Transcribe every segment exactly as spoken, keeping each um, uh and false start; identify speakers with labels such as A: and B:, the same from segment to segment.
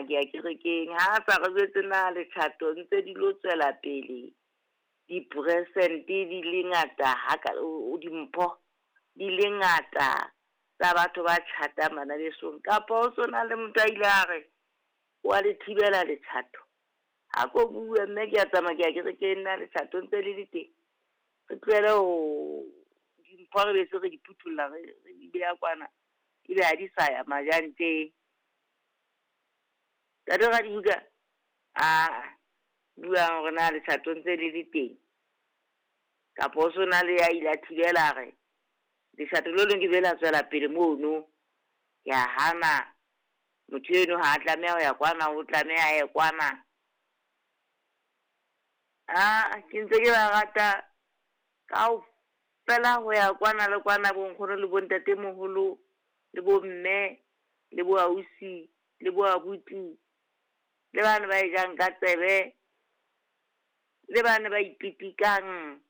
A: ke ya kerekeng. Ha a sa re jwetse na letjhato ntse di lo tswela pele. Diperesente di le ngata ha o dimpho di le ngata tsa batho ba tjhatang bana besong. Kapa o so na le motho a ile a re wa le thibela letjhato. Ha ko bue mme ke a tsamaya ke ya kerekeng na letjhato ntse le le teng. Re tlohele ho dimpho re be se re di phuthulla re di beha kwana. Ebe ha di sa ya majanteng. Ntate Radibuka a buang hore na letjhato ntse le le teng. Kapa o so na le ya ile a thibela re letjhato le leng ke be la tswela pele mono. Ke a hana motho eno ha a tlameha ho ya kwana, o tlameha a ye kwana. Ah, ke ntse ke ba rata kaofela ho ya kwana le kwana bo nkgono le bo ntatemoholo le bo mme le bo ausi le bo abuti le bana ba e jang ka tsebe le bana ba ipitikang.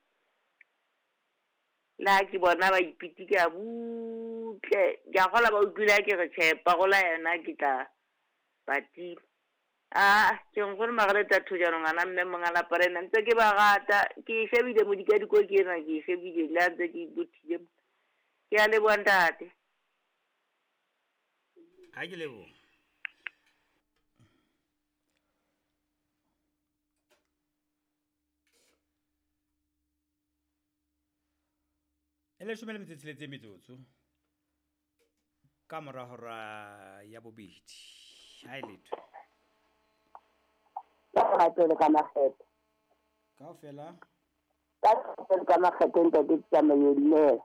A: Le ha ke bona ba ipitika butle, ke a kgolwa ba utlwile ha ke re tjhe parola yona ke tla ba tima. Ah, ke nkgono Margaret Thojane ngwana mme monga lapa lena ntse ke ba rata. Ke e shebile modikadiko ke ena ke e shebile le ha ntse ke ibothile. Ke a leboha ntate.
B: Ha ke leboha. E leshome le metso e tsheletseng metsotso ka mora hora ya bobedi. Ha e letho.
C: Ka lerato le ka makgethe.
B: Kaofela.
C: Ka lerato le ka makgethe ntate Tsamaiyo dumela.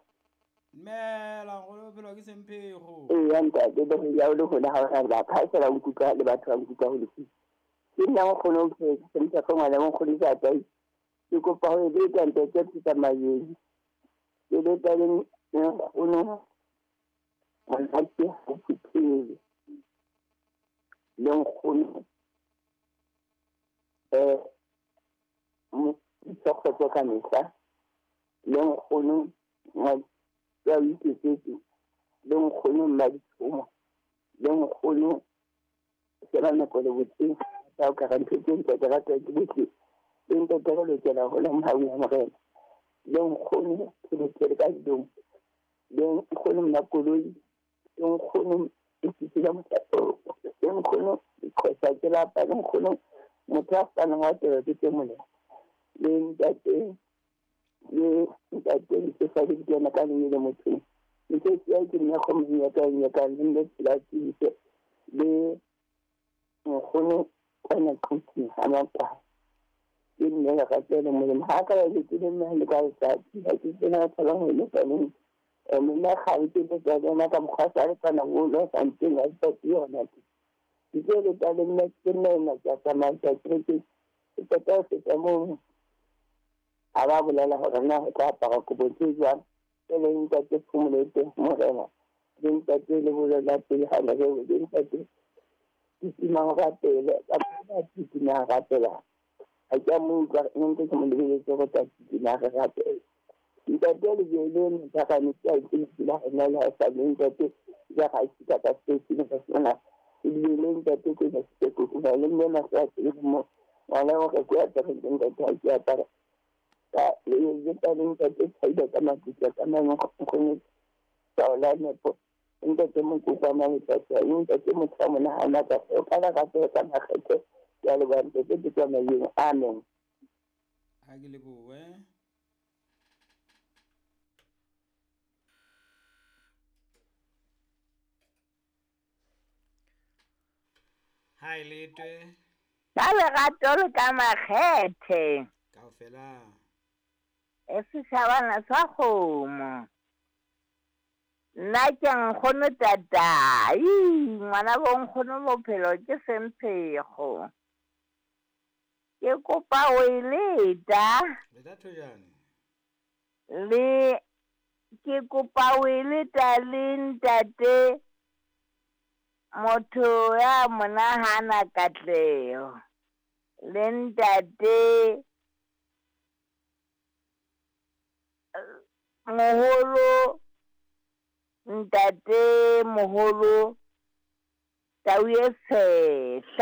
B: Dumela nkgono bophelo ke semphego.
C: Eya ntate le ho ya o le hole ha o ra ba ka fela o nkutlwa le batho ba nkutlwa ho le. Ke nna nkgono o phetse semphego ngwana nkgono ntate. Ke kopa ho leta ntate Tsamaiyo. Ke leta le nkgono monate ho phuthile. Le nkgono eh mo ka mehla le nkgono ya iketsetse le nkgono Mmaditshomo le nkgono sheba nako le botse tsa o ka re ntho tse ntate rata ke botle le ntate re lokela ho la mohaung wa morena le nkgono ke lokele ka didong le nkgono Mmakoloi le nkgono Isitila Motho le nkgono Khosa ke lapa le nkgono motho a fanang wa teba ke tse molemo le ntate le ntate le sa le ke ka le le motho ntse ke ke nna go mo ya ka ya ka le le la tse le nkgono kwana kuthi ha makwa ke nne la ka tsele molemo ha ka le ke nne le ka tsa ke ke nna tsala ho le tsale e nna ga ke le ka nna ka mokgwa sa le tsana go lo sa ntse la tsa yona ke ke le tsa le nna ke nna nna ka tsamaya ke ke ke tsa tsa mo a ba bolela hore na ho tla apara kobo tse jwang e le ntate Phomolete morena le ntate le bolela pele ha le le ntate titima ho rapele ka ba titima rapela ha ke mo utlwa ntse ke mo lebeletse go tla titima re rapele ntate le le le ka ne ke a itse la nna le sa le ntate ya ga se ka ka se se ka sona le le ntate ke se ke go le nna na sa ke mo wala o ke a tsa ntate ha ke apara ka le le tsa ntate tsaida ka makutlwa ka mang go tsa nepo ntate mo kopa matsatsi ntate mo tsa monahana ka o ka la ka ka makgethe ya le ba ntate ke tsamayeng amen.
B: Ha ke lebohe. Ha e letwe.
D: Ka lerato le ka makgethe.
B: Kaofela.
D: E setjhabana sa kgomo. Nna ke nkgono Tatai, ngwana bo nkgono bophelo ke semphego. Ke kopa ho e leta.
B: Leta Thojane.
D: Le ke kopa ho e leta le ntate motho ya monahana katleho. Le ntate moholo ntate moholo Tau e tshehla.